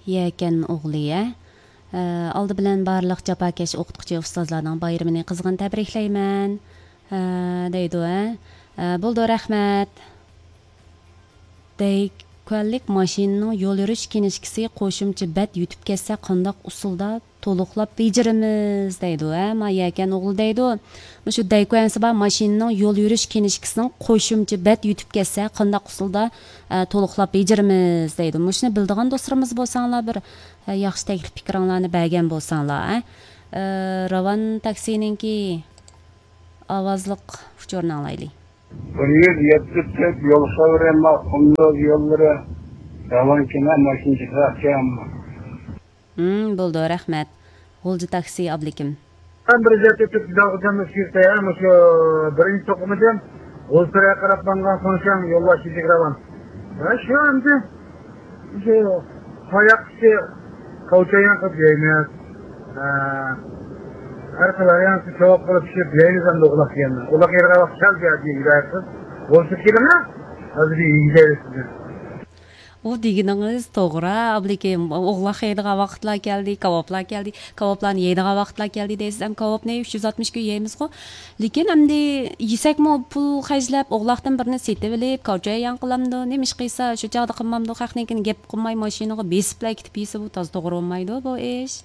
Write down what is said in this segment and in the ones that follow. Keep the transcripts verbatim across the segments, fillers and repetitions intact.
يەكەن ئوغلى، ھە؟ ئە، ئالدى بىلەن بارلىق جاپاكەش ئوقۇتقۇچى ئۇستازلارنىڭ بايرىمىنى قىزغىن تەبرىكلەيمەن، ئە، دەيدۇ، ھە؟ ئە، بولىدۇ، رەھمەت. دەيكۈەنلىك ماشىنىنىڭ يول يۈرۈش كىنىشكىسى قوشۇمچە بەت يۈتۈپ كەتسە، قانداق ئۇسۇلدا تولۇقلاپ بېجىرىمىز دەيدۇ، ھە؟ ما يەكەن ئوغلى دەيدۇ. مۇشۇ دەيكۈەنسى بار ماشىنىنىڭ يول يۈرۈش كىنىشكىسىنىڭ قوشۇمچە بەت يۈتۈپ كەتسە، قانداق ئۇسۇلدا، ئە، تولۇقلاپ بېجىرىمىز دەيدۇ. مۇشۇنى بىلىدىغان دوستلىرىمىز بولساڭلار، بىر، ئە، ياخشى تەكلىپ پىكرىڭلارنى بەرگەن بولساڭلار، ھە؟ ئە، راۋان تاكسىنىڭكى ئاۋازلىق ئۇچۇرىنى ئاڭلايلى. بىر يۈز يەتتە تۆت يول خەۋىرى، ما، قۇندۇز يوللىرى، راۋان كېمە، ماشىنا چىقىرىقچى ئامما. ھىم، بولىدۇ، رەھمەت. غۇلجا تاكسى ئابلىكىم. مەن بىر يۈز يەتتە تۆت داغجام ئۆتكۈزدى، مۇشۇ بىرىنچى توقۇمىدىن غۇلجىغا قاراپ ماڭغان سۇڭشاڭ يولۋاس يېزىك راۋان. ھە، شۇ ئەمدى. شۇ تاياق ئىچى قاۋچايان قىلىپ يەيمىز. ھە. ھەر خىل ھايانسىز كاۋاپ قىلىپ پىشىرىپ يەيمىز ئەمدى ئوغلاق دېگەندە. ئوغلاق يەيدىغان ۋاقىت كەلدى، ھە، دېگەن گايەتسىز. بولسا كېلىڭە. ھازىر يېگۈزەيلى سىزنى. ئۇ دېگىنىڭىز توغرا، ئابلىكىم. ئوغلاق يەيدىغان ۋاقىتلار كەلدى، كاۋاپلار كەلدى. كاۋاپلارنى يەيدىغان ۋاقىتلار كەلدى دەيسىز. ئەم، كاۋاپنى ئۈچ يۈز ئاتمىش كۈن يەيمىزغۇ. لېكىن ئەمدى يېسەكمۇ پۇل خەجلەپ، ئوغلاقتىن بىرنى سېتىۋېلىپ، كاۋچاييان قىلامدۇ، نېمە ئىش قىلسا، شۇ چاغدا قىلمامدۇ، خەقنىڭكىنى گەپ قىلماي، ماشىنىغا بېسىپلا كېتىپ يېسە، بۇ تازا توغرا بولمايدۇ، بۇ ئىش.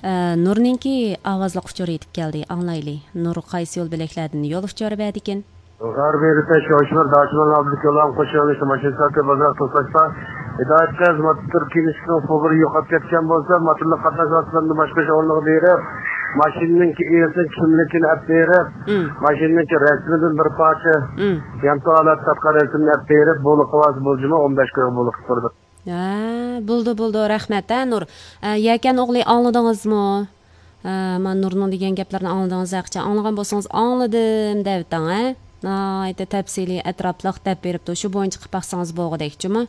ئە، نۇرنىڭكى ئاۋازلىق ئۇچۇرى يېتىپ كەلدى، ئاڭلايلى. نۇر قايسى يول بۆلەكلەردىن يول ئۇچۇرى بەردىكىن؟ غەربىي رېتەش شوشمىر داچىمان ئابدۇكېلام قوشۇنى ماشىنا ساتىپ بازار توساشتا، ھىدايەت قىز موتور كىنىشكىنىڭ پۇللىرى يوقاپ كەتكەن بولسا، موتورلۇق قاتناش ۋاسىتىلىرىنى باشقۇرۇش ئورنىغا بېرىپ، ماشىنىنىڭكى ئىگىسىنىڭ كىملىكىنى ئەپ بېرىپ، مم. ماشىنىنىڭكى رەسىمىدىن بىر پارچە مم. يانتۇ ھالەتتە تارتقان رەسىمنى ئەپ بېرىپ، بولۇپ قالسا بولجىما، ئون بەش كۈنگە بولۇپ تۇرىدۇ. ھە، بولدى، بولدى، رەھمەت، ھە، نۇر. ئە، يەكەن ئوغلى، ئاڭلىدىڭىزمۇ؟ ئە، مانا نۇرنىڭ دېگەن گەپلىرىنى ئاڭلىدىڭىز، ھەقىچان ئاڭلىغان بولسىڭىز، ئاڭلىدىم دەۋېتىڭ، ھە؟ ناھايىتى تەپسىلىي، ئەتراپلىق دەپ بېرىپتۇ، شۇ بويىچە قىلىپ باقسىڭىز بولغۇدەك، جۇمۇ؟